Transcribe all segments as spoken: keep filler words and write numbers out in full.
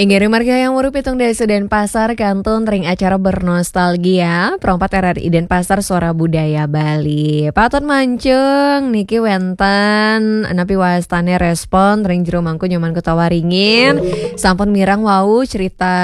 Inggih, ring margi Hayam Wuruk pitung dasa Denpasar kantun ring acara Bernostalgia, Pro empat R R I Denpasar, Suara Budaya Bali. Patut Mancung niki wenten napi wastane respon ring Jero Mangku Nyoman Kuta Waringin. Sampun mireng wau cerita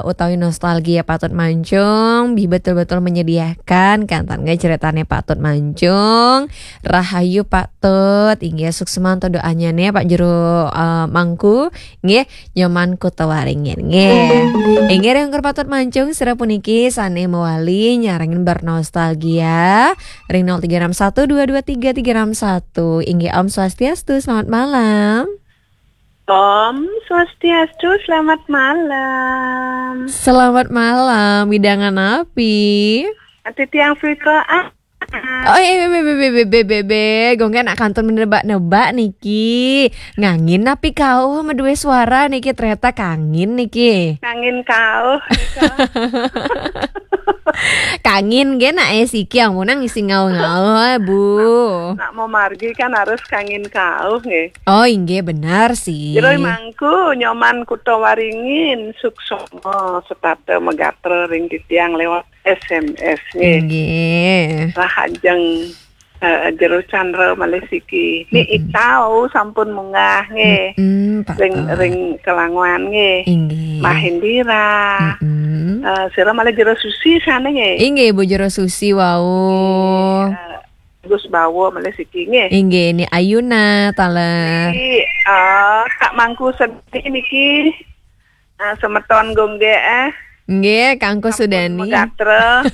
utawi nostalgia Patut Mancung, bi betul-betul menyediakan kenten nggih ceritane Patut Mancung. Rahayu Patut, inggih suksma doanyane Pak Jero, eh, Mangku, nggih. Nyoman Kuta Waringin, nggih. Inggih, ring Patut Mancung, sira puniki sane mawali nyarengin bernostalgia ring nol tiga enam satu dua dua tiga tiga enam satu. Inggih, Om Swastiastu, selamat malam. Om Swastiastu, selamat malam. Selamat malam, wewidangan napi? Ati tiang Fika, ah. Oh, eh, be, be, be, be, be, be, be, be. Gongge nak kantun menebak-nebak niki. Ngangin napi kauh madue suara niki, ternyata kangin niki. Ngangin kauh, nika. Kangin ge nak, eh, siki amunang isi ngauh-ngauh, eh, Bu. Nak mau margi kan harus kangin kauh, nggih. Oh, inggih, benar sih. Jero Mangku, Nyoman Kuta Waringin, suksma setata magatra ring titiang lewat S M S, nggih. Inggih. Rahajeng, eh, Jero Chandra malih siki. Ni Mm-mm. Itau sampun munggah, nggih. Mm-mm, Pak Ring, Tau. Ring Kelanguan, nggih. Inggih. Mbah Indira. Mm-mm. Eh, sira malih Jero Susi sane, nggih. Inggih, Bu Jero Susi wau. Nggih, eh, Gus Bawa malih siki, nggih. Inggih, ni Ayuna taler. Niki, eh, Kak Mangku Sedih niki. Ah, semeton Gongge, eh. Nggih, Kangku Sampun Sudani. Megatra.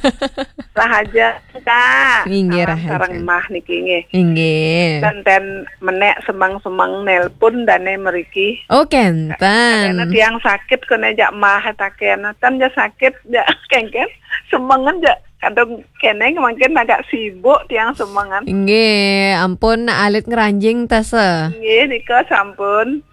Rahajeng, Kak. Inggih, Salam rahajeng. Sareng Mbah niki, nggih. Inggih. Kenten menek semeng-semeng nelpon dane mriki. Oh, kenten. Kadene tiang sakit kone jak Mbah taken. Ten jak sakit, jak kengken. Semengen jak kadung kene mungkin agak sibuk tiang semengen. Inggih, ampun alit ngranjing tasa. Inggih, nika sampun.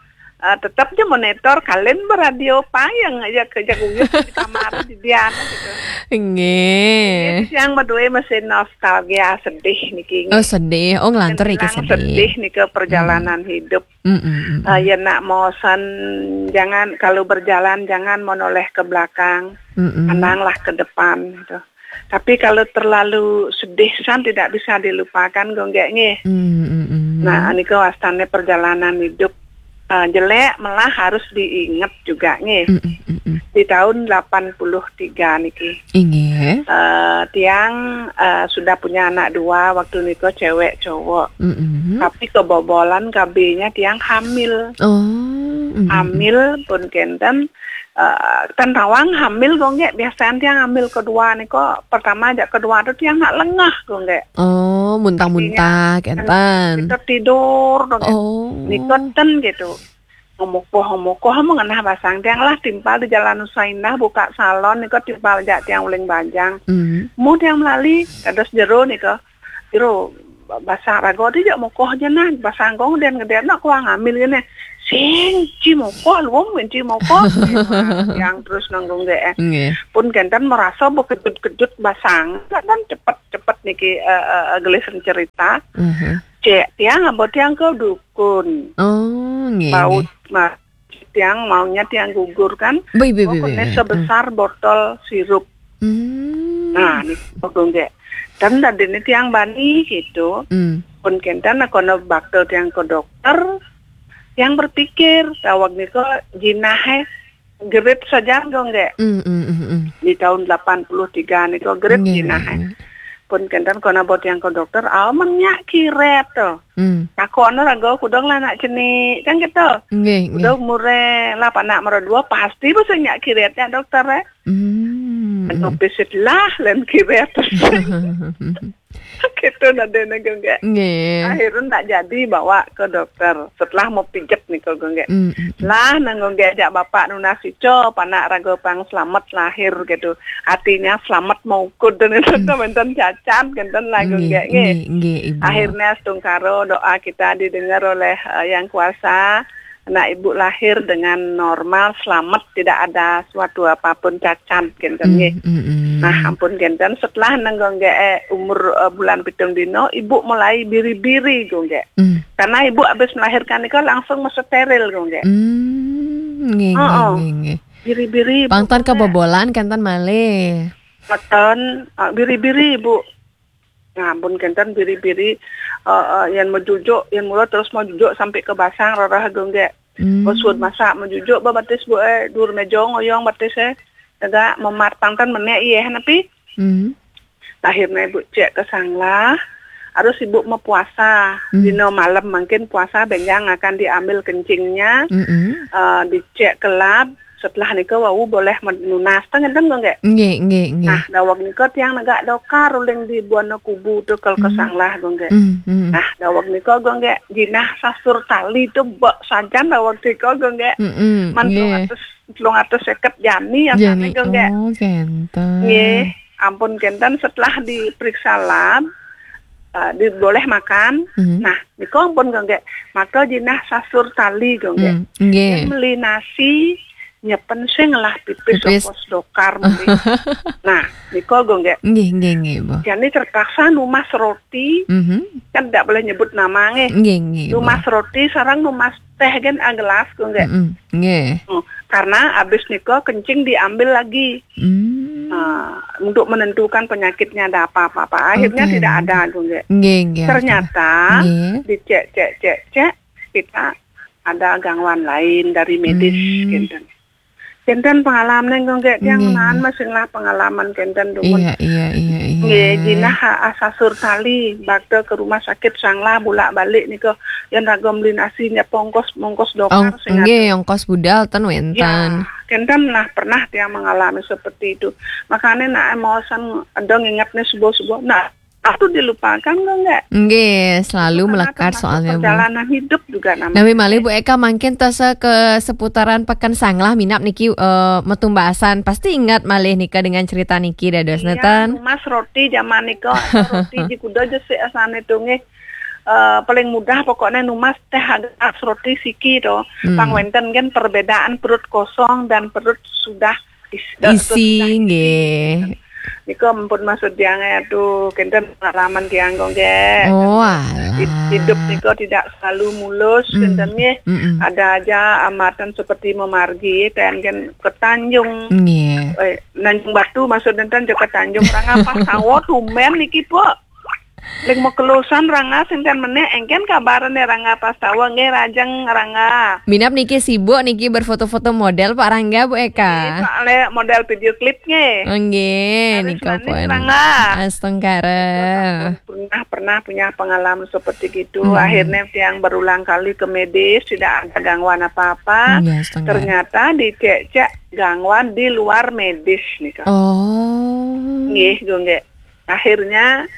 Eh, tetep aja monitor, kalian beradio payeng aja ke, aja kuyup di kamar di dian gitu. Inggih. Jadi tiang berdua masih nostalgia sedih niki, nggih. Oh, sedih. Oh, nglantur niki. Sedih. Sedih nika perjalanan hidup. Mm, mm, mm, mm. Eh, ya nak mosen, jangan, kalau berjalan jangan menoleh ke belakang, Mm, mm. Pandanglah ke depan gitu. Tapi kalau terlalu sedih san tidak bisa dilupakan, Gongge, nggih. Mm, mm, mm. Nah, nika wastane perjalanan hidup, eh, jelek malah harus diingat juga, nggih. Mm, mm, mm, mm. Di tahun delapan puluh tiga niki. Inggih. Eh, tiang, eh, sudah punya anak dua waktu nika, cewek cowok. Mm, mm. Tapi kebobolan K B-nya tiang hamil. Oh, mm, mm, mm. Hamil pun kenten, eh, ten tawang hamil, Gongge, biasanya tiang hamil kedua niko, pertama aja kedua tu tiang nak lengah, Gongge. Oh, muntah-muntah. Artinya, kenten. Kita tidur, Gongge. Oh. Niko ten gitu. Ngomokoh-ngomokoh, mengenah basang tiang lah, timpal di Jalan Nusa Indah, buka salon, niko timpal jak tiang uling bajang. Mm. Mu tiang melali, kados jero niko. Jero, basang raga ti jak mokoh aja nah, basang gong den gede nak kuang ambil gini. Sing, ci mokoh, luung, ci mokoh. Tiang terus nanggung ge, eh. Nggih. Pun kenten merasa bekejut-kejut basang. Kan cepet-cepet niki, eh, eh, eh, gelis cerita. Mhm. Cek, tiang, ambo tiang ke dukun. Oh, nggih, bau, nggih. Ma-, tiang maunya tiang gugur kan. Bi, bi, bi, bi, pokoknya bi. Sebesar botol sirup. Hmm. Nah, ni pokoknya. Dan tadi ni tiang bani gitu. Hmm. Pun kenten, nah, kono bakal tiang ke dokter, tiang berpikir, tawag niko jinah, eh, gerit saja, Gongge. Mm, mm, mm, mm. Di tahun delapan puluh tiga niko gerit. Nggih, jinah, eh. Nggih. Pun kenten kono bot yang ke dokter, amen nyak kiret to. Mm. Takono raga kudang lah nak cenik, kan gitu. Nggih, nggih. Udah umure lah panak mara dua, pasti bisa nyak kiret ya dokter, eh. Mm, mm. Anu pisit lah, len kiret. Gitu nadene, Gongge. Nggih. Akhirnya tak jadi bawa ke dokter. Setelah mau pijet niko, Gongge. Mm, mm, mm. Lah, nang Gongge ajak bapak nunas ico, panak raga pang selamat lahir gitu. Artinya selamat maukud dan itu. Mm. Wenten cacat, kenten lah, Gongge, nggih, nggih. Nggih, nggih, Ibu. Akhirnya setungkaro doa kita didengar oleh, eh, Yang Kuasa. Anak ibu lahir dengan normal, selamat, tidak ada suatu apapun cacat, gitu, mm, nggih. Mm, mm. Nah, ampun, kenten, setelah nang Gongge, eh, umur, eh, bulan pitung dino, ibu mulai biri-biri, Gongge. Mm. Karena ibu habis melahirkan itu langsung mau steril, Gongge. Mm. Nggih, nggih, nggih, nggih. Biri-biri, Bu, kebobolan kenten malih. Mboten, eh, biri-biri, Bu. Ngampun kenten biri-biri, eh, eh, yen mejujuk, yen mula terus mejujuk sampai ke basang rereh gonggek. Hmm. Bos suud masak mejujuk ba batis, Bu, eh, dur meja ngoyong batis, eh. Tegak memat pangten menek, iya, napi? Hmm. Akhirnya Ibu cek ke sanglah, harus Ibu mepuasa. Hmm. Dino malam mungkin puasa benjang akan diambil kencingnya, hmm, eh, dicek kelab, setelah nika wau boleh menunas. Teng ngenten, Gung, nggih? Nggih, nggih, nggih. Nah, daweg nika tiang negak dokar uling di buana kubu tu kal ke sanglah, Gung, nggih. Hmm, hmm. Nah, daweg nika, Gung, nggih, jinah sasur tali tu bek sajan daweg nika, Gung, nggih. Hmm, hmm. Man nggih. Telung atus, telung atus seket jani ya. Jani, sana, Gung, nggih. Oh, kenten. Nggih, ampun kenten setelah diperiksa lab, eh, di, boleh makan. Hmm. Nah, nika ampun, Gung, nggih. Maka jinah sasur tali, Gung, nggih. Hmm, nggih. Yen meli nasi, nyepen sing lah pipis. Pipis. Ongkos dokar meli. Nah, nika, Gung, nggih. Nggih, nggih, nggih, Bu. Jani terpaksa numas roti, mhm, kan tidak boleh nyebut nama, nggih. Nggih, nggih, Bu. Numas roti sareng numas teh kan agelas, Gung, nggih. Mm-mm, nggih. Hmm, karena habis nika kencing diambil lagi. Hmm. Nah, untuk menentukan penyakitnya ada apa-apa. Akhirnya, oke, tidak ada, Gung, nggih. Nggih, nggih, ternyata, nggih, dicek, cek, cek, cek, kita ada gangguan lain dari medis, hmm, kenten. Kenten pengalaman, Gung, nggih, tiang, nggih, naan, nggih, masih lah pengalaman kenten dumun. Iya, iya, iya, iya. Nggih, jinah ha-, asasur tali, bakte ke rumah sakit sanglah bulak balik nika, yen raga meli nasi nyep ongkos, ongkos dokar. Ong-, sing nggih, ada. Ongkos budal ten wenten. Ya, kenten lah pernah tiang mengalami seperti itu. Makanya nak emosan ada ngingetnya subuh-subuh. Nah, itu dilupakan, Gung, nggih? Nggih, selalu melekat soalnya, Bu. Itu karena termasuk perjalanan hidup juga namanya. Nah, malih, Bu Eka, mungkin tasa ke seputaran Pekan Sanglah minap niki, eh, metumbasan. Pasti ingat malih nika dengan cerita niki dados neten. Iya, numas roti zaman nika, roti ji kuda jesik asane tu, nggih. Eh, paling mudah pokoknya numas teh agelas roti siki to. Hmm. Pang wenten kan perbedaan perut kosong dan perut sudah is-, isi, sudah isi, nggih. Nika ampun maksud tiang, aduh, kenten pengalaman tiang, Gung, nggih. Oh, alah. Hid-, hidup nika tidak selalu mulus, hmm, kenten, nggih. Mm-mm. Ada aja hambatan seperti memargi, ten kan ke Tanjung. Nggih. Eh, Tanjung Batu maksud enten, ke Tanjung. Rangah pas sawah tumben niki, Pak. Ling mekelusan rangah sing ten menek, engken kabarane rangah pas sawah, nggih, rajeng rangah. Minap niki sibuk niki berfoto-foto model, Pak Rangga, Bu Eka. Nggih, soale model video klip, nggih. Oh, nggih, harus nika manis pun. Rangah. Astungkara. Pernah, pernah punya pengalaman seperti gitu. Hmm. Akhirnya tiang berulang kali ke medis, tidak ada gangguan apa-apa. Nggih, astungkara. Ternyata dicek-cek gangguan di luar medis nika. Oh. Nggih, Gung, nggih. Akhirnya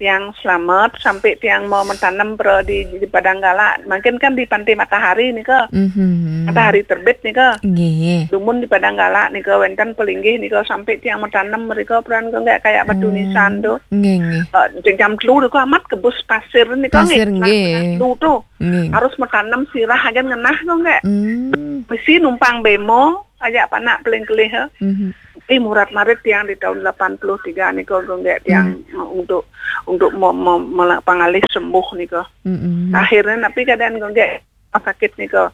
tiang selamat sampai tiang mau menanam pro di, di Padang Gala. Mungkin kan di Pantai Matahari nika. Mhm. Matahari terbit nika. Nggih. Dumun di Padang Gala nika wenten pelinggih nika sampai tiang menanam mereka peran, Gung, nggih, kayak batu nisan tu. Nggih, nggih. Eh, jam telu nika amat kebus pasir nika. Pasir, nggih. Nah, telu tu. Nggih. Harus menanam sirah aja ngenah, Gung, nggih. Hmm. Mesti numpang bemo, ajak panak peling kelih, eh. Mhm. Ih, murat marit tiang di tahun delapan puluh tiga nika, Gung, nggih, tiang, hmm, untuk, untuk mo-, mo-, mela-, pangalih sembuh nika. Mm-mm. Akhirnya napi keadaan, Gung, nggih, sakit nika.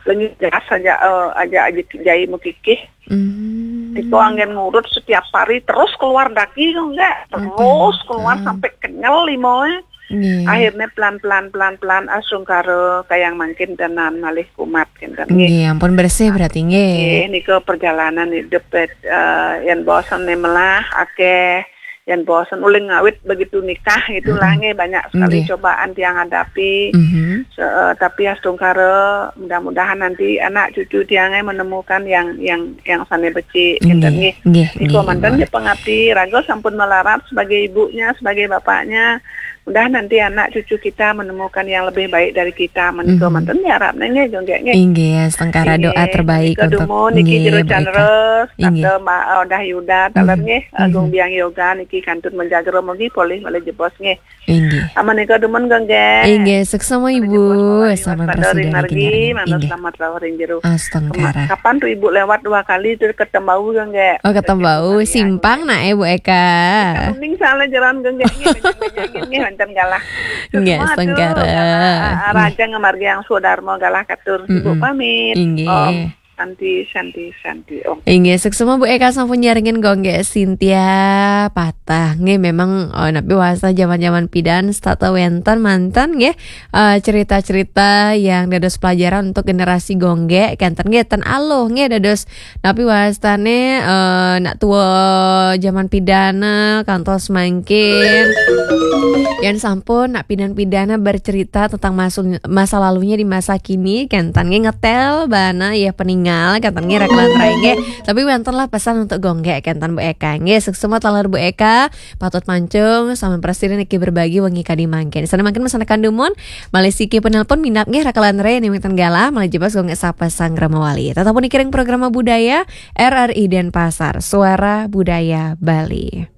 Lengi jas aja, eh, aja, aja jai mekikih. Hmm. Nika anggen ngurut setiap hari terus keluar daki, Gung, nggih. Terus keluar sampai kenyel limoe. Nggih. Akhirnya pelan-pelan, pelan-pelan, astungkara kayang mangkin tenan malih kumat kenten, nggih. Nggih, ampun bersih berarti, nggih. Nggih, nika perjalanan hidup, eh, yen bosen ne melah akeh, yen bosen uling ngawit begitu nikah itulah, mm-mm, nggih, banyak sekali, mm-mm, cobaan tiang hadapi. Mhm. Se-, eh, tapi astungkara mudah-mudahan nanti anak cucu tiangnya menemukan yang, yang, yang sane becik, nggih, kenten, nggih. Nggih, nggih, manten nggih, nggih, pengabdi, raga sampun melarat sebagai ibunya, sebagai bapaknya. Mudah nanti anak cucu kita menemukan yang lebih baik dari kita. Menika, mhm, manten diharapne nggih, Gung, nggih. Inggih, astungkara doa terbaik untuk, nggih, Bu Eka. Inggih, menika dumun niki jero canres, inggih, tante Mbak Odah Yuda, taler, mhm, nggih, mhm, Agung Biang Yoga niki kantun menjaga mogi polih malih jebos nggih. Inggih. Aman nika dumun, Gung, nggih. Inggih, suksma, Ibu. Selamat pada ring margi, mangga selamat rawuh ring jero. Astungkara. Kapan tu Ibu lewat dua kali tu ketemu, Gung, nggih. Oh, ketemu. Simpang nak, eh, Bu Eka. Mending salah jalan, Gung, nggih, nggih, nggih, nggih, wonten galah. Nggih, astungkara. Galah, ah, ah, rajang margi yang sudarma galah katur. Ibu pamit. Inggih. Om. Santi, Santi, Santi. Oh. Inggih, suksma Bu Eka sampun nyarengin Gonggek Cynthia patah. Nggih, memang eh, napi wasta zaman-zaman pidan setata wenten manten nggih eh, cerita-cerita yang dados pelajaran untuk generasi Gonggek kenten nggih ten aluh nggih dados napi wastane eh, nak tua zaman pidana kantos mangkin. Yang sampun nak pidan-pidana bercerita tentang masu- masa lalunya di masa kini kenten nggih ngetel bana ya peningal kenten nggih rakalan rai nggih. Tapi wenten lah pesan untuk Gonggek kenten Bu Eka nggih. Suksma taler Bu Eka patut mancung sama presiden iki berbagi wengi kadi mangkin. Sana mangkin mesana kandumun malih siki penelpon minap nggih rakalan rai ning wenten galah malih jebas Gonggek sapa sang Ramawali. Tetap pun ikiring programa budaya R R I Denpasar, Suara Budaya Bali.